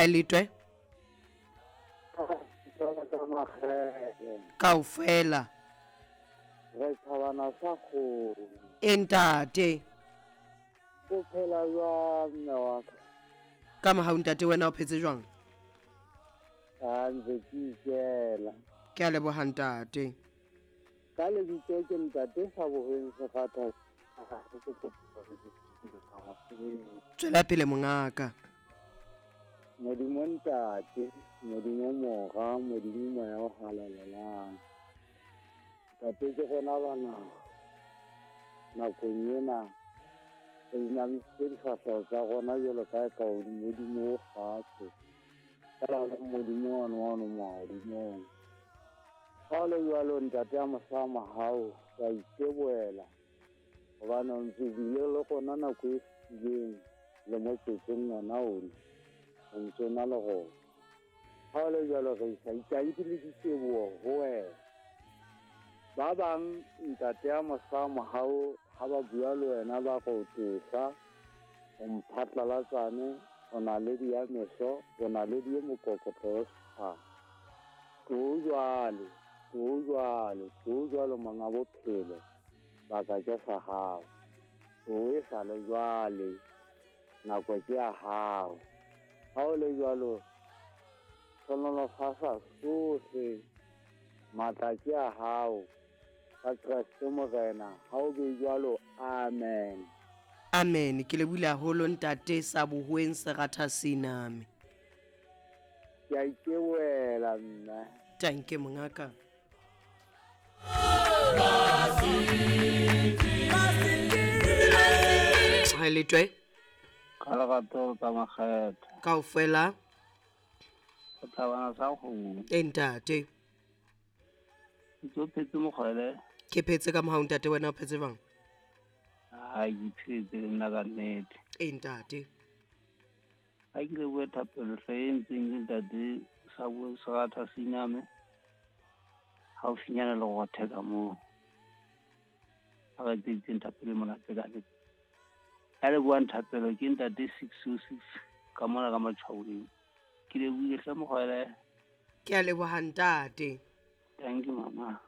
Ha e letwe. Kaofela. Re thabana sa kgomo. E ntate. O phela jwang mme wa ka? Ka mohau ntate wena o phetse jwang? A ntse ke ikela. Ke a leboha ntate. Ka lebitso ke ntate sa bohweng Sefatha. Tswela pele mongaka. Modimo ntate, Modimo mora, Modimo moya o halalelang. Ntate ke rona bana nakong ena re inamisitse difahleho tsa rona jwalo ka e ka Modimo o fatshe. Fela le Modimo one wa ono mahodimong. Ha o le jwalo ntate ya mohla mohau wa iteboela gobane o ntse bile le gona nako e fetileng le motsotsong ona ona o ntse o na le gona. Ha o le jwalo re isa itanki le diteboho ho wena. Ba bang ntate ya mohla mohau ha ba bua le wena ba re o tosa, o mphatlalatsane, o naledi ya meso, o naledi e mokokotlo wa setjhaba. Tlo jwale, tlo jwale, tlo jwalo monga bophelo, baka ke sa hao. Tlo e sa le jwale, nako ke ya hao. Ha o le jwalo, hlohonolofatsa sohle, matla ke a hao. Ka Kreste Morena, ha o be jwalo, amen. Amen. Ke lebohile haholo ntate sa bohoeng seratha siname. Ke a iteboela mme. Tanke mongaka. Ha letwe. Ka lerato tsa makgetho. Kaofela. O thabana sa kgomo. E ntate. Ntse o phetse mokgwele. Ke phetse ka mohau ntate wena o phetse jwang? Ha ke phetse le nna ka nnete. E ntate. Ha ke lebohe thapelo hle e ntseng ke ntate sa bo seratha siname. Haufinyana le rothe ka moo. Ha re etseditseng thapelo e monate ka nnete. Ya lebohang thapelo ke ntate 606 ka mona ka Matshwaoleng. Ke lebohile hle mokgwele. Ke a leboha ntate. Thank you mama.